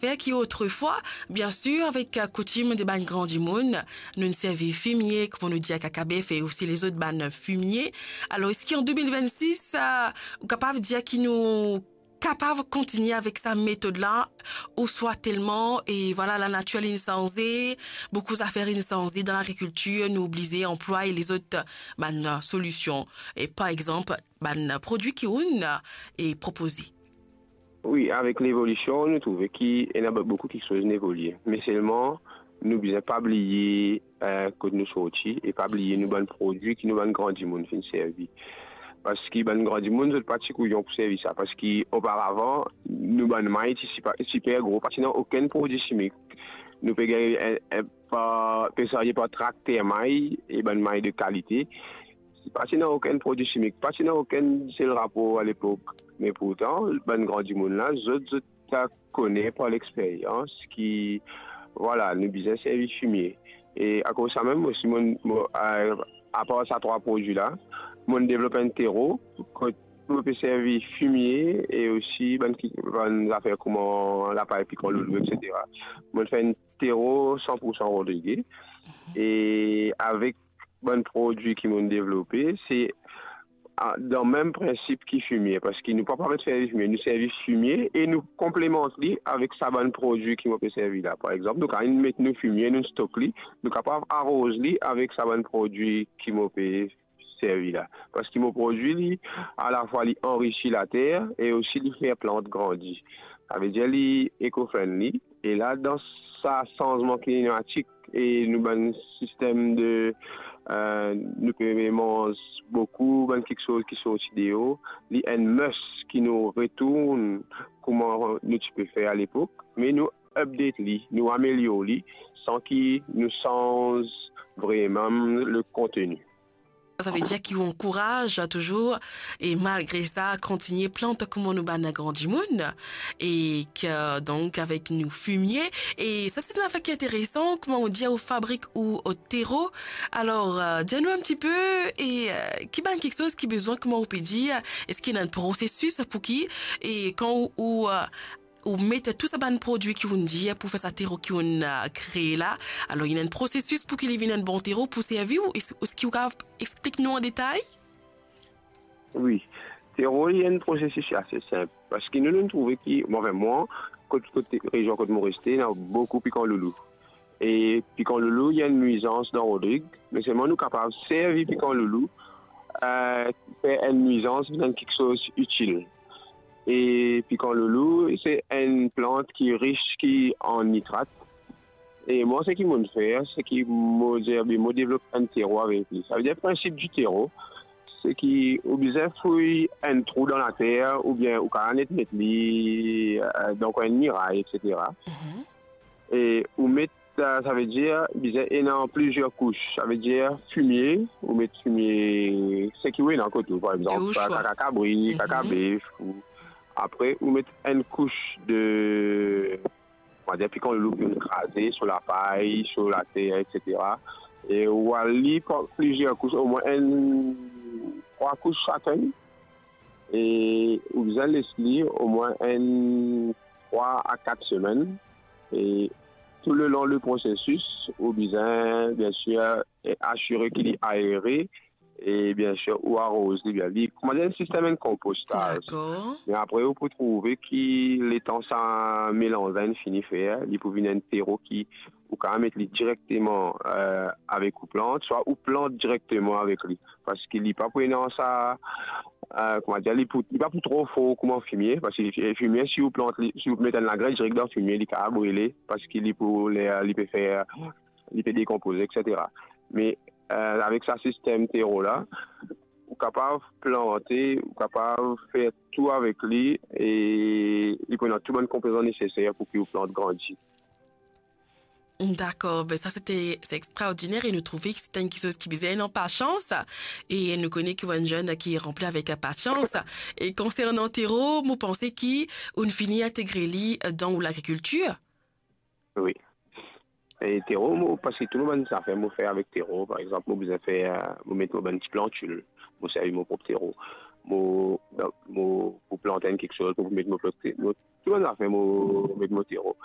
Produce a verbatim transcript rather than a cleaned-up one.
Fer ki otrefwa, biensir, avek, eh, koutim de bann gran dimoun, nou servi fimie, kouma nou dir, kakabef e osi lezot bann fimie. Alor, eski an de mil vennsis, eh, ou kapav dir ki nou kapav kontigne avek sa metod la, ouswa telman, e vwala, lanatir inn sanze, boukou zafer inn sanze dan lagrikiltir, nou oblize anplway lezot bann solision, e par exanp, bann prodwi ki ou'nn, e, propoze. Wi, avek levolision, nou trouve ki ena boukou kiksoz inn evolie. Me selman, nou bizin pa bliye, eh, kot nou sorti e pa bliye nou bann prodwi ki nou bann gran dimoun finn servi. Parski bann gran dimoun, zot pa ti kouyon pou servi sa. Parski oparavan, nou bann may ti sipa-, siper gro, pa ti ena okenn prodwi simik. Nou pe gagn, eh, eh, pa, pe sarye par trakter may, e bann may de kalite. Pa ti ena okenn prodwi simik, pa ti ena okenn sel rapor alepok. Me pourtan, bann gran dimoun la, zot, zot ta kone par lexperyans ki, vwala, nou bizin servi fimie. E akoz sa mem osi, mo, mo, a, apar sa trwa prodwi la, mo devlop enn tero, kot mo pe servi fimie e osi bann ki, bann zafer kouma lapay, pikan loulou, etsetera. Mo fer enn tero san pou san rodrige. E avek bann prodwi ki mo devlope, se, a, dan mem prinsip ki fimie, parski nou pa, pa met servi fimie, nou servi fimie e nou konplemant li avek sa bann prodwi ki mo pe servi la. Par exanp, nou kapav met nou fimie, nou stok li, nou kapav aroz li avek sa bann prodwi ki mo pe servi la. Parski mo prodwi li, alafwa li anrisi later e osi li fer plant grandi. Savedir li eco-friendly. E la, dan sa sanzman klimatik e nou bann sistem de, eh, nou pe manz boukou bann kiksoz ki sorti deor, li enn must ki nou retourn kouma nou ti pe fer alepok, me nou update li, nou amelyor li, san ki nou sanz vreman le konteni. Savedir ki ou ankouraz touzour, e malgre sa, kontigne plant kouma nou bann gran dimoun, e ki, donk, avek nou fimie. E sa, se enn zafer ki interesan, kouma ou dir, ou fabrik ou, ou tero. Alor, eh, dir nou enn tipe, e, eh, ki bann kiksoz ki bizin, kouma ou pe dir, eski ena enn prosesis pou ki, e kan ou, ou, eh, ou met tou sa bann prodwi ki ou'nn dir pou fer sa tero ki ou'nn, eh, kree la. Alor, ena enn prosesis pou ki li vinn enn bon tero pou servi ou, es-, eski ou kapav explik nou an detay? Wi, tero, li enn prosesis ase sinp. Parski nou, nou trouve ki, bon, anfin, mwa, kot, kot rezion kot mo reste, ena boukou pikan loulou. E pikan loulou, li enn nwizans dan Rodrig, me selman nou kapav servi pikan loulou, eh, fer enn nwizans vinn enn kiksoz itil. E pikan loulou, se enn plant ki ris ki an nitrat. E mwa, seki mo fer, seki mo dir, be, mo devlop enn tero avek li. Savedir, prinsip di tero, seki ou bizin fouy enn trou dan later, oubien ou kapav net met li, eh, dan enn miray, etsetera. Mhm. E ou met, eh, savedir, bizin ena plizier kous. Savedir, fimie, ou met fimie, seki ou ena kot ou, par exanp, kaka kabri, kaka bef, ou, apre, ou met enn kous de, on va dire, pikan loulou ki ou'nn kraze, so lapay, so later, etsetera. E ou al li par plizier kous, omwin enn trwa kous sakenn. E ou bizin les li omwin enn trwa a kat semenn. E toulelon le prosesis, ou bizin, biensir, asire ki li aere, e biensir, ou aroz li bien. Li, kouma dir, enn sistem enn konpostaz. Dakor. Me apre, ou pou trouve ki letan sa melanz la inn fini fer, li pou vinn enn tero ki ou kapav met li direkteman, eh, avek ou plant, swa ou plant direkteman avek li. Parski li pa pou ena sa, eh, kouma dir, li pou, li pa pou tro for kouma fimie, parski fimie, si ou plant li, si ou met enn lagren direk dan fimie, li kapav brile, parski li pou, li, li pe fer, li pe dekonpoze, etsetera. Me, eh, avek sa sistem tero la, ou kapav plante, ou kapav fer tou avek li, e li pou ena tou bann konpozan neseser pou ki ou plant grandi. Dakor, be sa, se te, se extraordiner e nou trouve ki se enn kiksoz ki bizin ena pasians, e nou kone ki ou enn zenn ki ranpli avek pasians. E konsernan tero, mo panse ki ou'nn fini integre li dan ou lagrikiltir. Wi. E tero, mo, parski tou mo bann zafer mo fer avek tero. Par exanp, mo bizin fer, mo met mo bann ti plantil, mo servi mo prop tero. mo, mo pou plant enn kiksoz, mo pou met mo plot, mo, tou bann zafer, mo met mo siro.